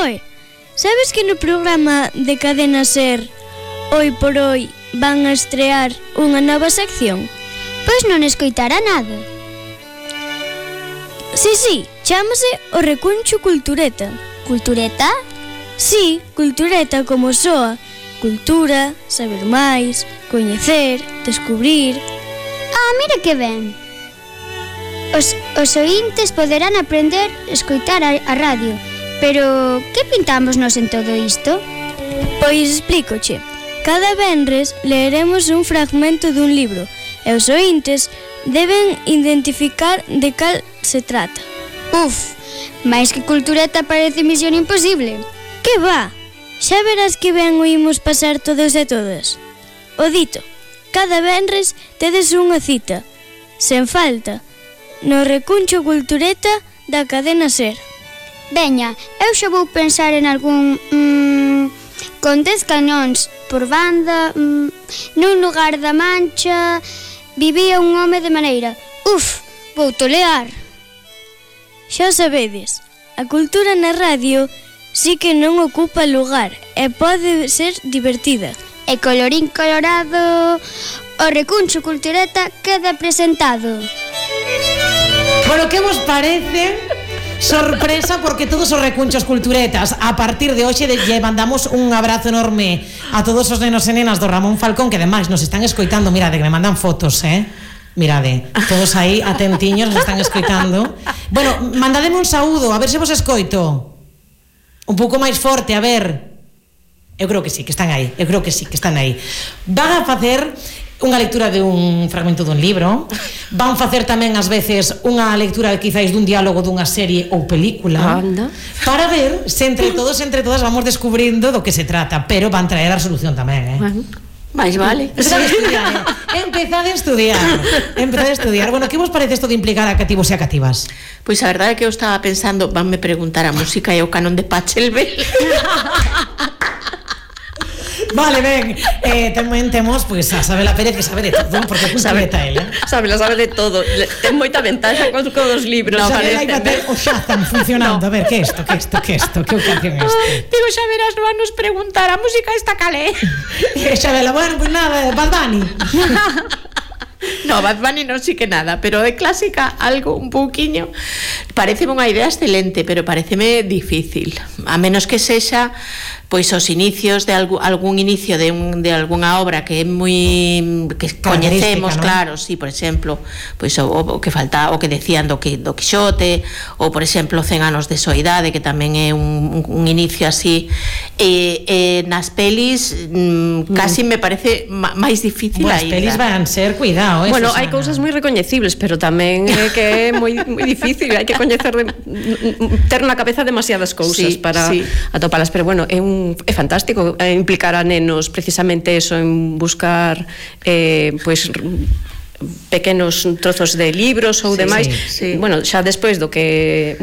Oi, sabes que no programa de Cadena Ser Hoy por Hoy van a estrear unha nova sección? Pois non escoitara nada. Sí, chámase o Recuncho Cultureta. Cultureta? Sí, cultureta como soa. Cultura, saber máis, coñecer, descubrir. Mira que ben. Os oíntes poderán aprender a escoitar a radio. Pero, que pintamos nós en todo isto? Pois explícoche. Cada venres leeremos un fragmento dun libro e os oíntes deben identificar de cal se trata. Máis que cultureta parece misión imposible. Que va? Xa verás que ben oímos pasar todos e todas. O dito, cada venres tedes unha cita, sen falta, no Recuncho Cultureta da Cadena Ser. Veña, eu xa vou pensar en algún... con 10 cañóns por banda, nun lugar da Mancha, vivía un home de maneira. Vou tolear. Xa sabedes, a cultura na radio sí que non ocupa lugar e pode ser divertida. E colorín colorado, o Recuncho Cultureta queda presentado. Bueno, que vos parece? Sorpresa, porque todos os recunchos culturetas a partir de hoxe lle mandamos un abrazo enorme a todos os nenos e nenas do Ramón Falcón, que ademais nos están escoitando. Mirade, que me mandan fotos, mirade, todos aí atentiños, nos están escoitando. Bueno, mandademe un saúdo, a ver se vos escoito un pouco máis forte, a ver. Eu creo que sí, que están aí. Van a facer unha lectura de un fragmento dun libro, van facer tamén ás veces unha lectura quizáis dun diálogo dunha serie ou película. Anda. Para ver se entre todos e entre todas vamos descubrindo do que se trata, pero van traer a solución tamén, máis vale. Empezade a estudiar. Bueno, que vos parece isto de implicar a cativos e a cativas? Pois a verdade é que eu estaba pensando, vanme preguntar a música e o canon de Pachelbel. Vale, ben, tamén temos pois a Sabela Pérez, que sabe de todo, porque cultureta ela. Sabe de todo. Ten moita ventaxa con os libros. No, Sabela hai bater o Shazam funcionando. A ver, que isto? Que ocasión este? Digo, xa verás, non nos preguntar a música esta calé. Sabela, bueno, pois nada, Bad Bunny. No, Bad Bunny non sí que nada, pero de clásica algo un pouquiño. Pareceme unha idea excelente, pero pareceme difícil. A menos que sexa pois os inicios de algún inicio de algunha obra que é moi que coñecemos, ¿no? Claro, sí, por exemplo, pois o que falta, o que decían do Quixote, ou por exemplo 100 anos de soidade, que tamén é un inicio así, nas pelis casi me parece máis difícil. As pelis van ser, cuidado, bueno, hai cousas moi recoñecibles, pero tamén é que é moi difícil, hai que coñecer ter na cabeza demasiadas cousas para atopalas, pero bueno, é fantástico implicar a nenos precisamente eso, en buscar pois pequenos trozos de libros ou demais. Bueno, xa despois do que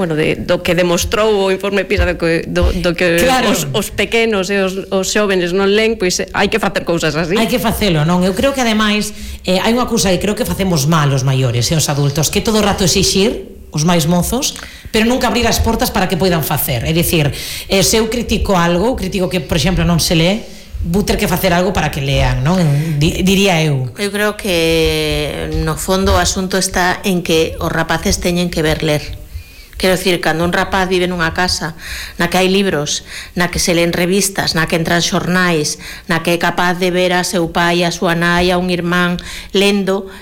demostrou o informe PISA do que claro, os pequenos e os xóvenes non len, pois hai que facer cousas así. Hai que facelo, non? Eu creo que ademais hai unha cousa que creo que facemos mal os maiores e os adultos, que todo o rato exixir os máis mozos, pero nunca abrir as portas para que poidan facer. É dicir, se eu critico algo, critico que, por exemplo, non se lee, vou ter que facer algo para que lean, non? Diría eu. Eu creo que no fondo o asunto está en que os rapaces teñen que ver ler. Quero dicir, cando un rapaz vive nunha casa na que hai libros, na que se leen revistas, na que entran xornais, na que é capaz de ver a seu pai, a súa nai, a un irmán lendo,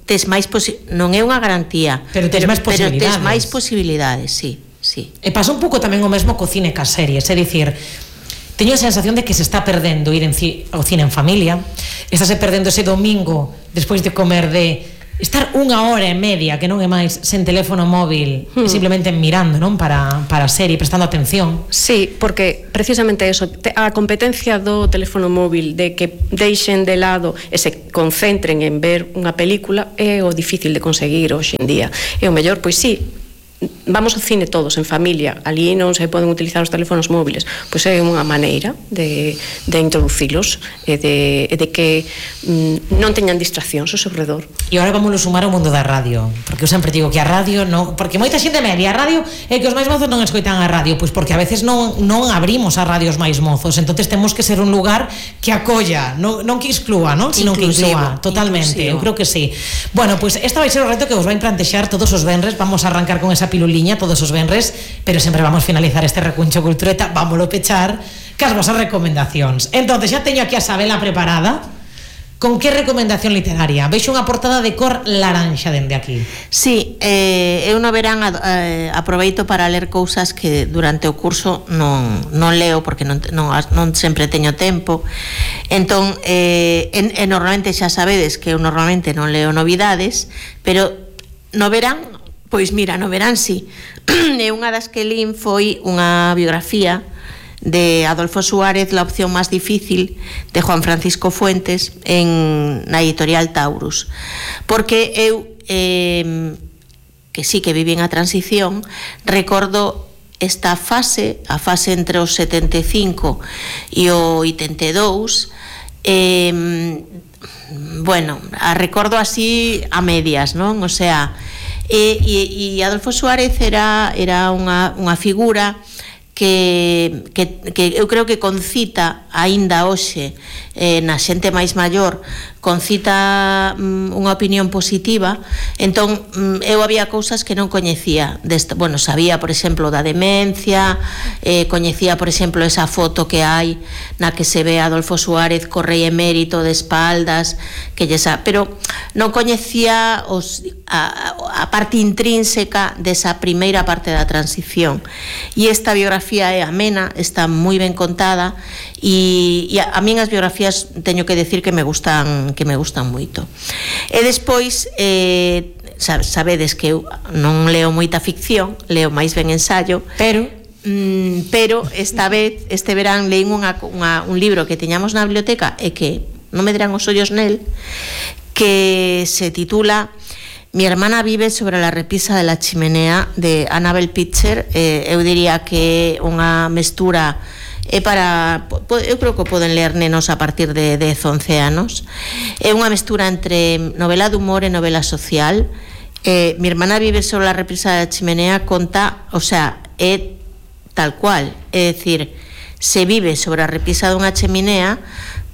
tes máis non é unha garantía, pero tes máis posibilidades, sí. E pasa un pouco tamén o mesmo co cine cas series, é dicir, teño a sensación de que se está perdendo ir ao cine en familia, estáse perdendo ese domingo despois de comer, de estar unha hora e media, que non é máis, sen teléfono móvil, simplemente mirando, non, para a serie, prestando atención. Sí, porque precisamente eso, a competencia do teléfono móvil, de que deixen de lado e se concentren en ver unha película, é o difícil de conseguir hoxe en día. E o mellor, pois sí, vamos ao cine todos en familia, ali non se poden utilizar os teléfonos móviles, pois é unha maneira de introducilos e de que non teñan distraccións ao seu redor. E agora vamos sumar ao mundo da radio, porque eu sempre digo que a radio non, porque moita xente media, a radio é que os máis mozos non escoitan a radio, pois porque a veces non abrimos a radio os máis mozos, entonces temos que ser un lugar que acolla, non que exclúa, non? Sino que inclúa, totalmente, inclusivo. Eu creo que sí. Bueno, pois esta vai ser o reto que vos vai plantexar todos os venres, vamos a arrancar con esa piluliña todos os venres, pero sempre vamos finalizar este recuncho cultureta, vámoslo pechar cas vosas recomendacións. Entonces, xa teño aquí a Sabela preparada. Con que recomendación literaria? Veixo unha portada de cor laranxa dende aquí. Sí, eu no verán aproveito para ler cousas que durante o curso non leo porque non sempre teño tempo. Entón, normalmente xa sabedes que eu normalmente non leo novidades, pero no verán, pois mira, no verán sí. E unha das que lín foi unha biografía de Adolfo Suárez, La opción más difícil, de Juan Francisco Fuentes, na editorial Taurus. Porque eu, que sí que viví a transición, recordo esta fase, a fase entre os 75 e o 82, bueno, a recordo así a medias, non? O sea, e Adolfo Suárez era unha figura que eu creo que concita aínda hoxe na xente máis maior, concita unha opinión positiva. Entón eu había cousas que non coñecía bueno, sabía por exemplo da demencia, coñecía por exemplo esa foto que hai na que se ve a Adolfo Suárez co rei emérito de espaldas, pero non coñecía a parte intrínseca desa primeira parte da transición, e esta biografía é amena, está moi ben contada, e a min as biografías teño que decir que me gustan moito. E despois sabedes que eu non leo moita ficción, leo máis ben ensaio, pero esta vez, este verán, leín un libro que teñamos na biblioteca e que non me dirán os ollos nel, que se titula Mi hermana vive sobre la repisa de la chimenea, de Annabel Pitcher. Eu diría que é unha mestura eu creo que poden ler nenos a partir de 10-11 anos. É unha mestura entre novela de humor e novela social. Mi hermana vive sobre la repisa de la chimenea conta, o sea, é tal cual, é dicir, se vive sobre a repisa dunha cheminea,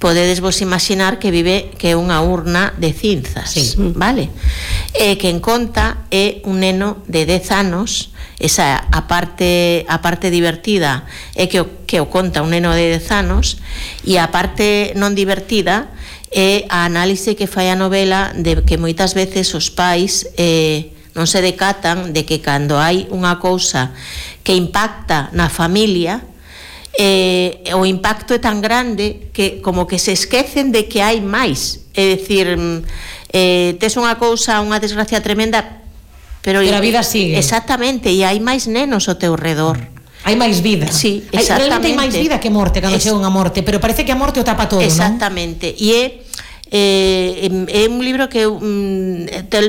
podedes vos imaginar que é unha urna de cinzas, sí. Vale? Que en conta é un neno de 10 anos. Esa a parte divertida é que o conta un neno de 10 anos, e a parte non divertida é a análise que fai a novela de que moitas veces os pais non se decatan de que cando hai unha cousa que impacta na familia, o impacto é tan grande que como que se esquecen de que hai máis. É dicir, tes unha cousa, unha desgracia tremenda, pero a vida sigue. Exactamente, e hai máis nenos ao teu redor. Hai máis vida. Sí, realmente hai máis vida que morte cando chega unha morte, pero parece que a morte o tapa todo, non? Exactamente. E é un libro que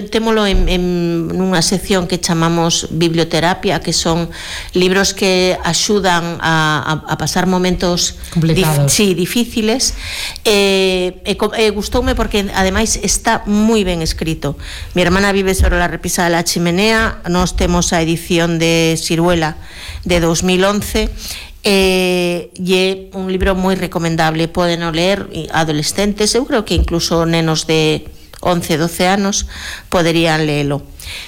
témolo en nunha sección que chamamos biblioterapia, que son libros que axudan a pasar momentos complicados, difíciles. Gustoume porque ademais está moi ben escrito. Mi hermana vive sobre la repisa de la chimenea. Nós temos a edición de Siruela de 2011. E é un libro moi recomendable, poden o ler adolescentes, eu creo que incluso nenos de 11-12 anos poderían lelo.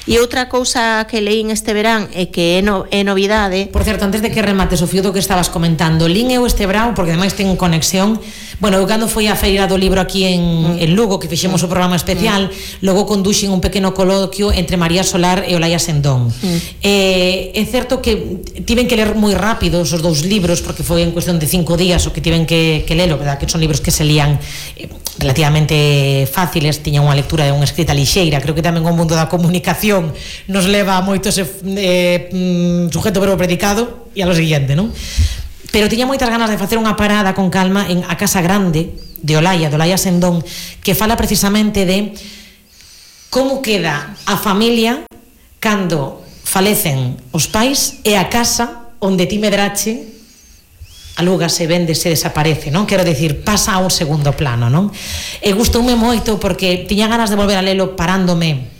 E outra cousa que leín este verán e que é novidade. Por certo, antes de que remates o fío do que estabas comentando, lín eu este verán, porque ademais ten conexión. Bueno, eu cando foi a feira do libro aquí en Lugo, que fixemos o programa especial, logo conduxen un pequeno coloquio entre María Solar e Olaya Sendón. É certo que tiven que ler moi rápido os dous libros, porque foi en cuestión de 5 días o que tiven que lelo, verdad? Que son libros que se lían relativamente fáciles, tiñan unha lectura de unha escrita lixeira. Creo que tamén o mundo da comunicación nos leva moito ese sujeto verbo predicado e a lo siguiente, non? Pero tiña moitas ganas de facer unha parada con calma en A Casa Grande de Olaya Sendón, que fala precisamente de como queda a familia cando falecen os pais e a casa onde ti medrache alúgase, véndese, desaparece, non? Quero dicir, pasa a un segundo plano, non? E gustoume moito porque tiña ganas de volver a lelo parándome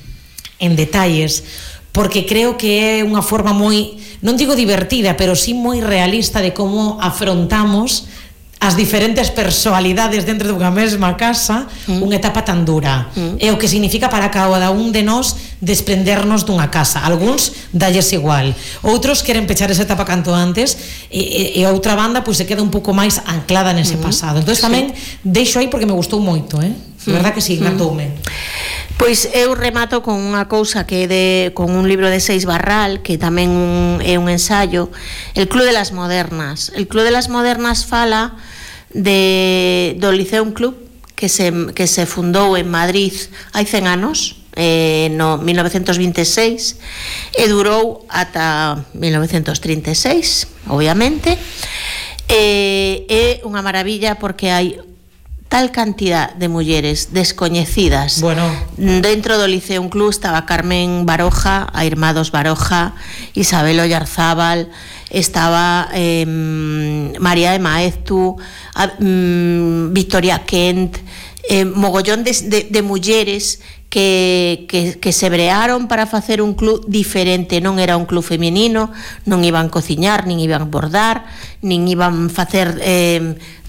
en detalles, porque creo que é unha forma moi, non digo divertida, pero sí moi realista de como afrontamos as diferentes personalidades dentro dunha mesma casa unha etapa tan dura e o que significa para cada un de nós desprendernos dunha casa. Algúns dalles igual, outros queren pechar esa etapa canto antes e a outra banda pois se queda un pouco máis anclada nese pasado. Entón tamén deixo aí porque me gustou moito, de verdad que sí, encantoume. Pois eu remato con unha cousa que é con un libro de Seix Barral, que tamén é un ensaio, El Club de las Modernas. El Club de las Modernas fala do Liceum Club que se fundou en Madrid hai 100 anos, no 1926, e durou ata 1936, obviamente. É unha maravilla porque hai tal cantidad de mulleres descoñecidas. Bueno, dentro do Liceum Club estaba Carmen Baroja, a irmá dos Baroja, Isabel Ollarzábal, estaba María de Maeztu, Victoria Kent, mogollón de mulleres que se brearon para facer un club diferente. Non era un club feminino, non iban cociñar, nin iban bordar, nin iban facer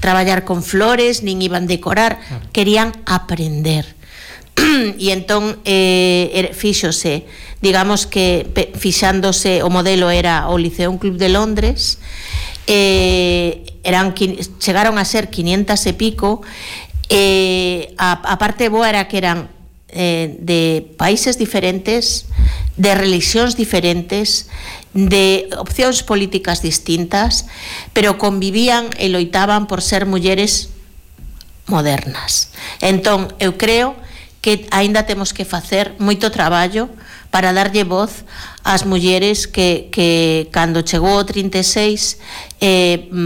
traballar con flores, nin iban decorar, querían aprender. E entón fíxose, digamos que fixándose, o modelo era o Liceum Club de Londres, chegaron a ser 500 e pico, a parte boa era que eran de países diferentes, de religións diferentes, de opcións políticas distintas, pero convivían e loitaban por ser mulleres modernas. Entón, eu creo que aínda temos que facer moito traballo para darlle voz ás mulleres que cando chegou o 36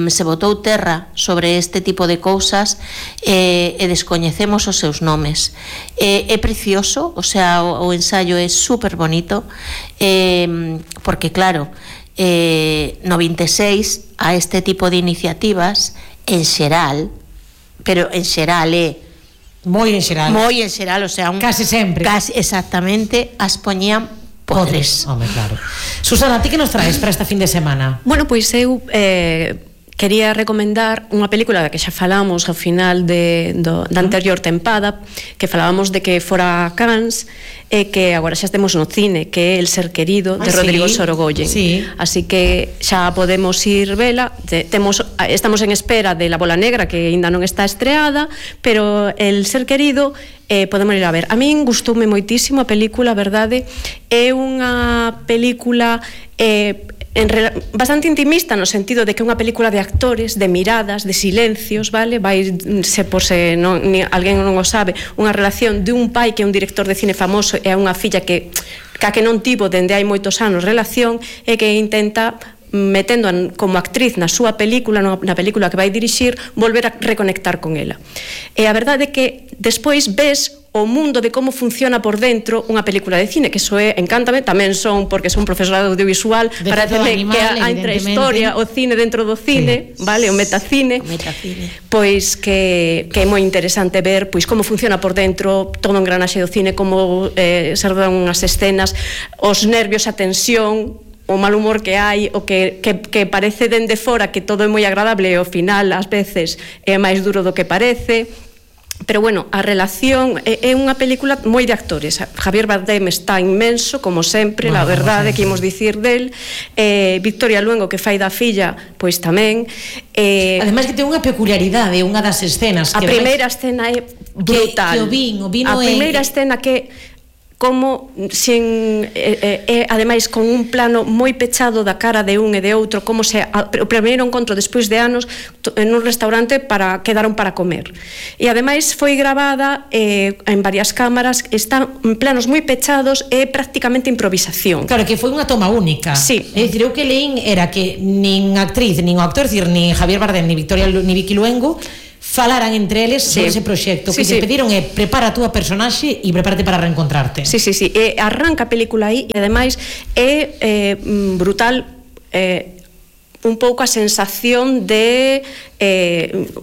se botou terra sobre este tipo de cousas e descoñecemos os seus nomes. É precioso, o sea, o ensaio é super bonito, porque claro, no 26 a este tipo de iniciativas en xeral, pero en xeral moi en xeral, o sea, case sempre, exactamente, as poñían podres. Home, claro. Susana, ti que nos traes para esta fin de semana? Bueno, pois eu quería recomendar unha película da que xa falamos ao final da anterior tempada, que falábamos de que fora a Cannes e que agora xa estemos no cine, que é El Ser Querido, de Rodrigo Sorogoyen. Así que xa podemos ir vela. Estamos en espera de La Bola Negra, que ainda non está estreada, pero El Ser Querido podemos ir a ver. A min gustoume moitísimo a película, a verdade. É unha película bastante intimista, no sentido de que é unha película de actores, de miradas, de silencios, vale? Vai, por se alguén non o sabe, unha relación de un pai que é un director de cine famoso e a unha filla que non tivo dende hai moitos anos relación, e que intenta, metendo como actriz na súa película, na película que vai dirixir, volver a reconectar con ela. E a verdade é que despois ves o mundo de como funciona por dentro unha película de cine, que iso encántame, tamén porque son profesora de audiovisual, para temer que a intrahistoria, o cine dentro do cine, vale, o metacine, pois que é moi interesante ver pois como funciona por dentro todo o engranaxe do cine, como se rodan unhas escenas, os nervios, a tensión, o mal humor que hai, o que parece dende fora que todo é moi agradable e ao final ás veces é máis duro do que parece. Pero bueno, a relación é unha película moi de actores. Javier Bardem está inmenso, como sempre, la verdade que imos dicir del. Victoria Luengo, que fai da filla, pois tamén. Ademais que ten unha peculiaridade, unha das escenas. A primeira escena é brutal. Que o vino a primeira escena que como ademais con un plano moi pechado da cara de un e de outro, como se o primeiro encontro despois de anos en un restaurante quedaron para comer. E ademais foi gravada en varias cámaras, están en planos moi pechados e prácticamente improvisación. Claro, que foi unha toma única. Sí. É dicir, eu que leín era que nin actriz, nin o actor, nin Javier Bardem, nin Vicky Luengo falaran entre eles sobre ese proxecto, que te pediron é prepara a túa personaxe e prepárate para reencontrarte. Sí. Arranca a película aí e ademais é brutal un pouco a sensación de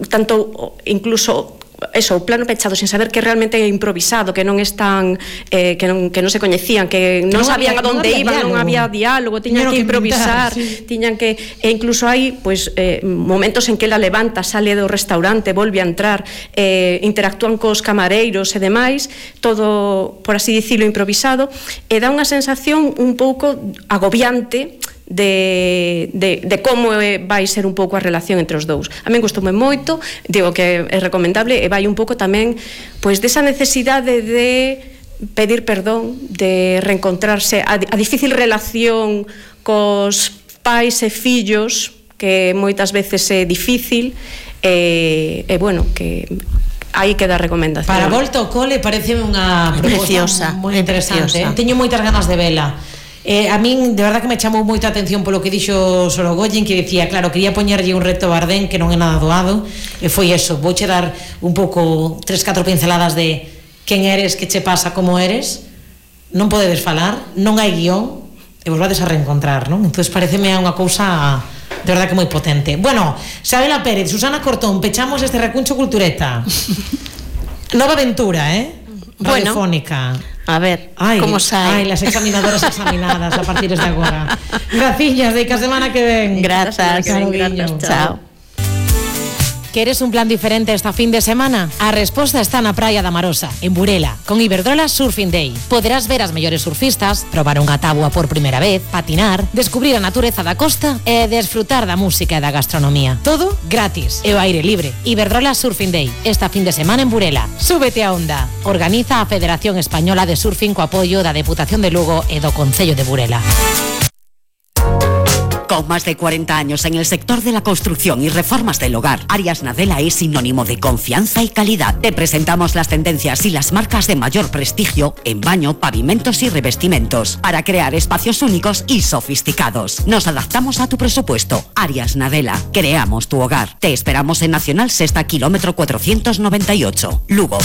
tanto incluso o plano pechado sin saber que realmente é improvisado, que non están que non se coñecían, que non sabían a onde iban, non había diálogo, tiñan que improvisar, tiñan que incluso hai momentos en que ela levanta, sale do restaurante, volve a entrar, interactúan cos camareiros e demais, todo, por así dicilo, improvisado, e dá unha sensación un pouco agobiante de como vai ser un pouco a relación entre os dous. A min gustoume moito, digo que é recomendable, e vai un pouco tamén pois desa necesidade de pedir perdón, de reencontrarse, a difícil relación cos pais e fillos, que moitas veces é difícil, e bueno, que aí queda a recomendación. Para volta ao cole pareceme unha proposta moi interesante. Teño moitas ganas de vela. A min de verdad que me chamou moita atención polo que dixo Sorogoyen, que dicía, claro, quería poñerlle un reto a Bardén que non é nada doado, e foi eso, vouche dar un pouco 3-4 pinceladas de quen eres, que che pasa, como eres, non podedes falar, non hai guión e vos vades a reencontrar, non? Entón pareceme unha cousa de verdad que moi potente. Bueno, Xabela Pérez, Susana Cortón, pechamos este recuncho cultureta. Nova aventura, radiofónica. A ver, como sai? Las examinadoras examinadas a partir de agora. Graciñas, de que a semana que ven. Grazas, chao. ¿Queres un plan diferente esta fin de semana? A resposta está na Praia da Marosa, en Burela, con Iberdrola Surfing Day. Poderás ver as mellores surfistas, probar unha táboa por primeira vez, patinar, descubrir a natureza da costa e desfrutar da música e da gastronomía. Todo gratis e ao aire libre. Iberdrola Surfing Day, esta fin de semana en Burela. Súbete a onda. Organiza a Federación Española de Surfing co apoio da Deputación de Lugo e do Concello de Burela. Con más de 40 años en el sector de la construcción y reformas del hogar, Arias Nadella es sinónimo de confianza y calidad. Te presentamos las tendencias y las marcas de mayor prestigio en baño, pavimentos y revestimientos para crear espacios únicos y sofisticados. Nos adaptamos a tu presupuesto. Arias Nadella, creamos tu hogar. Te esperamos en Nacional Sexta, kilómetro 498, Lugo.